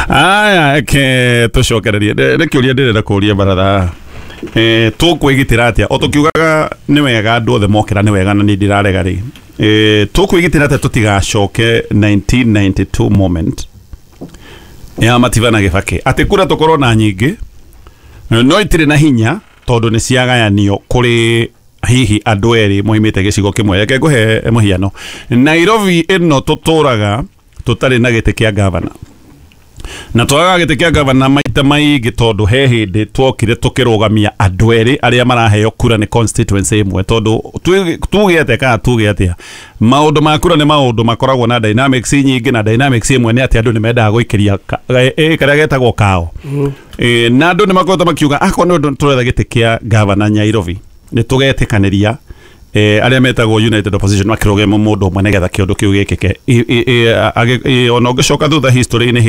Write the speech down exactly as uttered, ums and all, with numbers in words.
Aya, ke tũcokererie. Nĩ kĩũria ndĩrenda kũũria baratha. Eh, tũkwĩgitĩra atĩa o tũkiugaga nĩ wega andũ othe mokĩra nĩ wega na niĩ ndirarega rĩ, eh, tũkwĩgitĩra atĩa tũtigacoke nineteen ninety-two moment ya Matiba na Gĩbakĩ, atĩ kura tũkorwo na nyingĩ no itirĩ na hinya tondũ nĩ ciagayanio kũrĩ hihi andũ erĩ moimĩte gĩcigo kĩmwe? Reke ngũhe mũhiano. Nairobi ĩno tũtũraga tũtarĩ na gĩtĩ kĩa gavana na twagaga gĩtĩ kĩa gavana maita maingĩ tondũ he hĩndĩ twokire tũkĩrũgamia andũ erĩ arĩa maraheo kura nĩ constituency ĩmwe, tondũ tuge tuge atĩa kana tuge atĩa, maũndũ ma kura nĩ maũndũ makoragwo na dynamics nyingĩ, na dynamics ĩmwe nĩ atĩ andũ nĩ mendaga gũikĩria ka- eh, eh, karĩa getagwo kao. Eh, na andũ nĩ makoretwo makiuga akorwo nĩ ũndũ tũretha gĩtĩ kĩa gavana Nairobi nĩ tũgetĩkanĩria eh, arĩa metagwo United Opposition makĩrũgama mũndũ ũmwe nĩgetha kĩũndũ kĩu gĩkĩke. I- i- i- agĩ- i- ona ũngĩcoka thutha history-inĩ.